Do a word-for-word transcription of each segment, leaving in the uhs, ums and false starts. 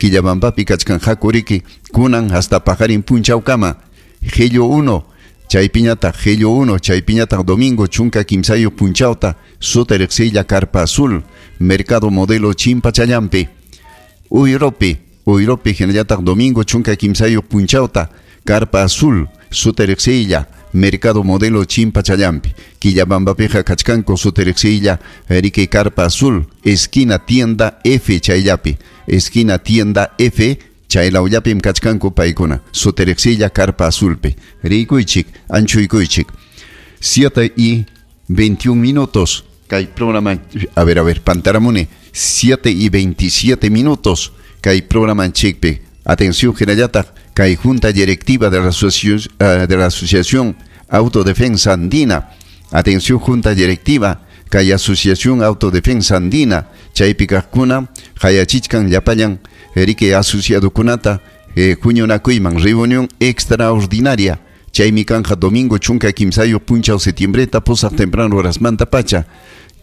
Quillabambapi kachkanqaku riki kunan hasta paqarin punchawkama. Gello uno chaypiñataq Gello uno chaypiñataq domingo chunka kimsayuq punchawta suta riqsiylla Carpa Azul Mercado Modelo Chimpachallampi. Uyropi Uyropi hinallataq domingo chunka kimsayuq punchawta Carpa Azul suta riqsiylla Mercado Modelo Chimpachallampi. Quillabambapiqa kachkanku suta riqsiylla riki Carpa Azul esquina tienda F chayllapi, esquina tienda F chaylawllapim kachkanku paykuna suta riqsiylla Carpa Azulpi. Rikuychik, anchuykuychik. siete y veintiún minutos. Kay programa, a ver, a ver, pantaramuni, siete y veintisiete minutos. Kay programa chikpi. Atención, hinallataq, kay junta directiva de la asociación, uh, de la Asociación Autodefensa Andina. Atención, junta directiva, kay Asociación Autodefensa Andina. Chaypi kaqkuna, hayachichkan llapallan, riki asociadokunata, eh, huñunakuyman, reunión extraordinaria. Chaymi kanja domingo chunka kimsayuq punchaw septiembreta pusaq temprano horasmanta pacha.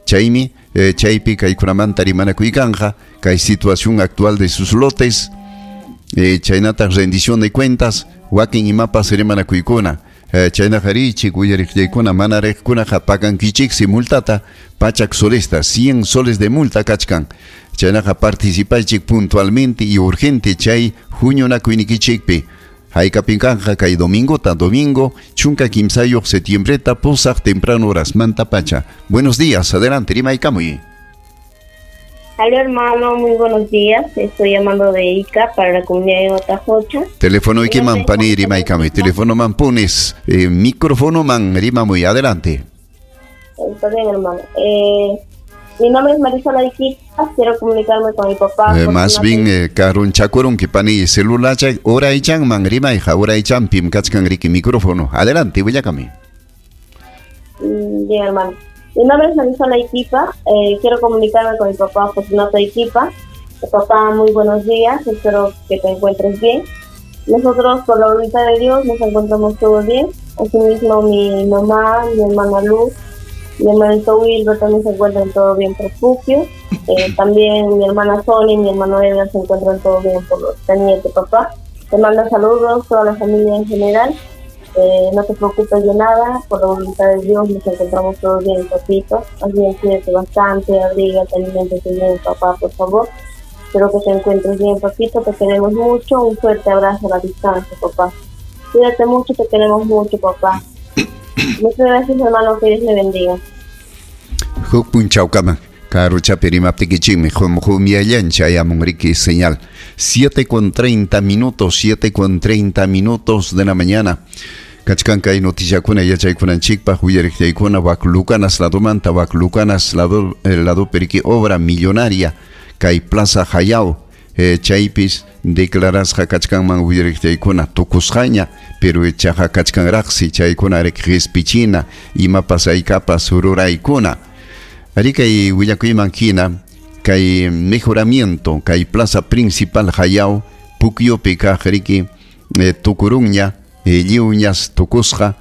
Chaymi, eh, chaypi kaykunamanta rimanakuykanqa, kay situación actual de sus lotes, eh, chaynataq rendición de cuentas, wakin imapas rimanakuykuna. Eh, chaynaqa riqchik uyariqllaykuna mana riqkunaqa pagankichiksi multata pachak solesta, cien soles de multa kachkan. Chaynaqa participaychik puntualmente y urgente chay huñunakuynikichikpi. Haykapin kanja kay domingota, domingo chunka kimsayuq septiembreta pusaq temprano horasmanta pacha. Buenos días, adelante, rimaykamuy. Hola hermano, muy buenos días. Estoy llamando de Ica para la comunidad de Otajocha. Teléfono ikiman pani rimaykamuy. Teléfono man pones, eh, micrófono man rimamuy, adelante. Está bien, hermano. Eh, mi nombre es Marisol Iquipa, quiero comunicarme con mi papá. Eh, más bien, eh, karun chakurun que pani celular chay, ora ichan man rimayja, ora ichan pim kachkan riki micrófono. Adelante, willakami. Mm, bien, hermano. Mi nombre es Marisol Iquipa, eh, quiero comunicarme con mi papá Fortunato Iquipa. Papá, muy buenos días, espero que te encuentres bien. Nosotros, por la voluntad de Dios, nos encontramos todos bien. Asimismo, mi mamá, mi hermana Luz, mi hermanito Wilber también se encuentran todo bien por Puquio. Eh, también mi hermana Sonia y mi hermano Edgar se encuentran todo bien por los Cañete, papá. Te mando saludos, toda la familia en general. Eh, no te preocupes de nada, por la voluntad de Dios nos encontramos todos bien, papito. Más bien, cuídate bastante, abrígate, aliméntate bien, papá, por favor. Espero que te encuentres bien, papito, te queremos mucho. Un fuerte abrazo a la distancia, papá. Cuídate mucho, te queremos mucho, papá. Muchas gracias, hermano, que Dios le bendiga. Huk punchawkama, karuchapi rimaptikichikmi, humiallan chayamun riki señal. siete con treinta minutos, siete con treinta minutos de la mañana. Kachkan kay noticiakuna yachaykunanchikpaq uyariqllaykuna wak Lucanas ladomanta, wak Lucanas lado, lado periki obra millonaria kay Plaza Jayao. Eh, chaypis declarasqa kachkanman uyariqllaykuna tukusqaña, pero chaqa kachkanraqsi chaykuna riki qispichina imapas haykapas ruraykuna. Ari kay willakuyman hina kay mejoramiento kay plaza principal Jayao Puquiopi kaq riki eh, tukurunña, eh, lliwñas tukusqa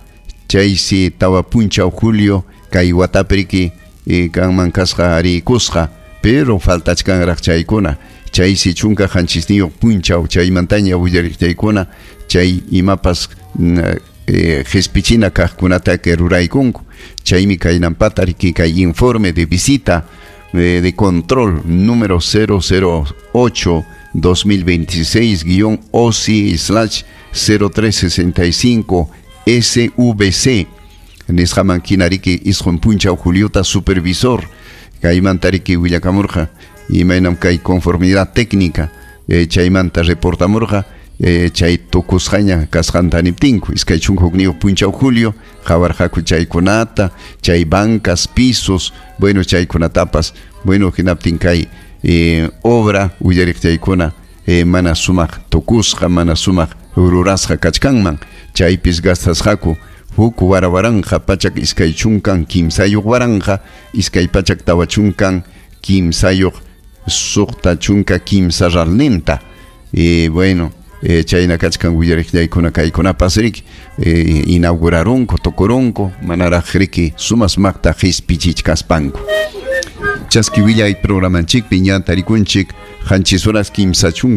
chaysi tawa punchaw julio kay watapi riki eh, kanman kasqa rikusqa, pero faltachkanraq chaykuna. Chaysi chunka qanchisniyuq punchaw chaymantaña uyariqllaykuna chay imapas eh, qispichina kaqkunata que ruraykunku. Chaymi kaynampata riki kay informe de visita eh, de control número cero cero ocho dos mil veintiséis guión O C I slash cero tres sesenta y cinco S V C. Nisqaman hina riki isqun punchaw Juliota supervisor kaymanta riki willakamurqa imaynam kay conformidad técnica eh, chaymanta reportamurqa eh, chay tukusqaña kasqanta niptinku iskay chunka hukniyuq punchaw julio qawarqaku chaykunata chay bancas pisos bueno chaykunatapas bueno hinaptin kay eh, obra uyariqchaykuna eh, mana sumaq tukusqa mana sumaq rurasqa kachkanman chaypis gastasqaku huk warawaranja pachak iskay chunkan kimsayuq waranja iskay pachak tawa chunkan kimsayuq suqta chunka kimsa ralninta. Eh, bueno, eh, chayna kachkan uyariqllaykuna kaykunapas riki eh, inaugurarunku tukurunku manaraq riki sumasmaqta qispichichkaspanku. Chaski willay programanchikpi ña tarikunchik qanchis horas kimsa chunka